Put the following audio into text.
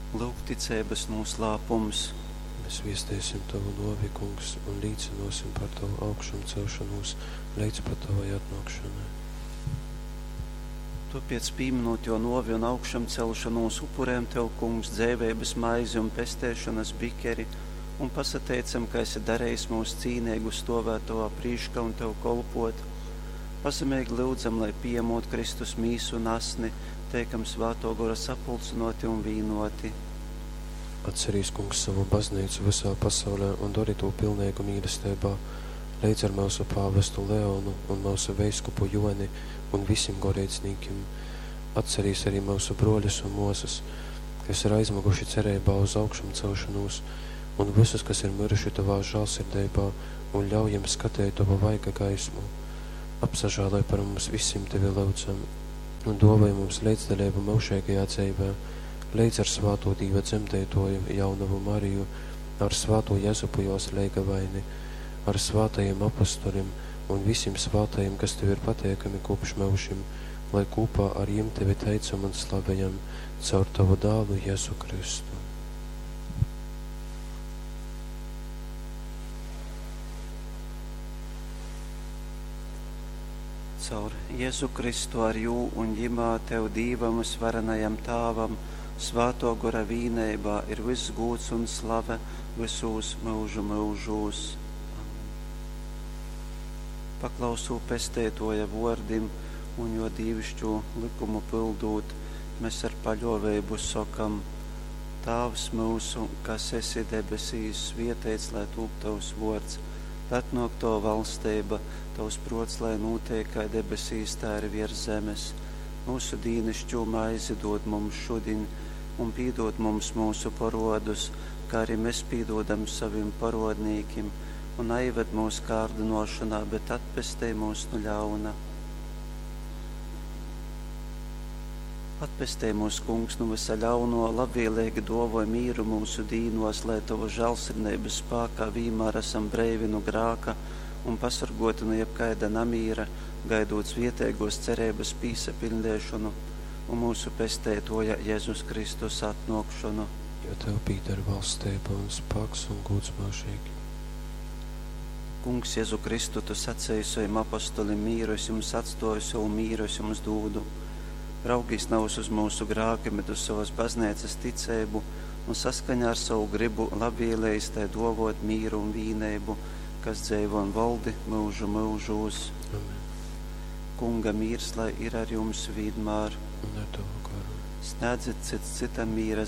Lūk ticeibas nūslāpums. Mēs viesteisim Tavu nōvi, Kungs, un līcynōsim par Tavu augšamceļšonūs leidz pat Tavai atnōkšanai. Tōpēc, pīminūt jō nōvi un augšamcelšonūs, upurējam Tev, Kungs, dzeiveibas maizi un pesteišonas bikeri, un pasateicam, ka esi darejis mūs cīneigus stovēt Tovā prīškā un Tev kolpot. Pazemeigi lyudzam, lai pījemot Kristus mīsu un asni, teikam Svātō Gora sapulcynōti un vīnōti. Atcerīs, Kungs, savu baznīcu visā pasaulē un dori tū pilneigu mīlesteibā, leidz ar myusu pāvestu Leonu un myusu veiskupu Joni un visim goreidznīkim. Atcerīs arī myusu brōļus un mōsas, kas ir aizmyguši cereibā uz augšamcelšanūs, un visus, kas ir miruši Tavā žālsirdeibā, un ļauj jiem skateit Tavu vaiga gaismu. Apsažāloj par mums visim Tevi lyudzam, un dōvoj mums leidzdaleibu myužeigajā dzeivē, leidz ar svātū Dīva dzemdeitoju, jaunavu Mariju, ar svātū Jezupu jos leigavaini, ar svātajiem apostolim un visim svātajiem, kas Tev ir pateikami kopš myužim, lai kopā ar jim Tevi teicam un slavejam caur Tavu dālu Jēzu Kristu. Caur Jēzu Kristu ar jū un jimā Tev Dīvam vysvarenajam Tāvam, Svātō Gora vīneibā ir vyss gūds un slave vysūs myužu myužūs. Amen. Paklausū Pesteitoja vōrdim un jo dīvišķū likumu pildūt, mēs ar paļōveibu sokam: Tāvs myusu, kas esi debesīs, svieteits lai tūp Tavs vōrds, lai atnōk Tava valsteiba, Tavs prōts, lai nūteik kai debesīs, tā arī viers zemes. Mūsu dīnišķū maizi dod mums šudiņ, un pīdod mums mūsu porodus, kā arī mēs pīdodam savim porodnīkim, un aived mūs kārdinošanā, bet atpestej mūs no ļauna. Atpestej mūs, Kungs, no visa ļauno, labvēlīgi dovoj mīru mūsu dīnos, lai Tavu žēlsirdības spākā vienmēr esam breivi no grāka un pasargoti no jebkaida namīra, gaidot svietēgos cerības pīsapildēšanu un mūsu pestētoja Jēzus Kristus atnākšanu. Jo Tev pīder valstība un spēks un gods mūžīgi. Kungs, Jēzu Kristu, Tu sacīji saviem apostolim mīru, es jums atstoju savu mīru, es jums dūdu. Raugīs nav uz mūsu grākiem, bet uz savas baznīcas ticību un saskaņā ar savu gribu labvēlējis tai dovot mīru un vīneibu, kas dzeivo un valdi mūžu mūžūs. Amen. Kunga mīrs, lai ir ar jums vienmēr. Un ar Tavu garu. Snēdzit cits citam mīra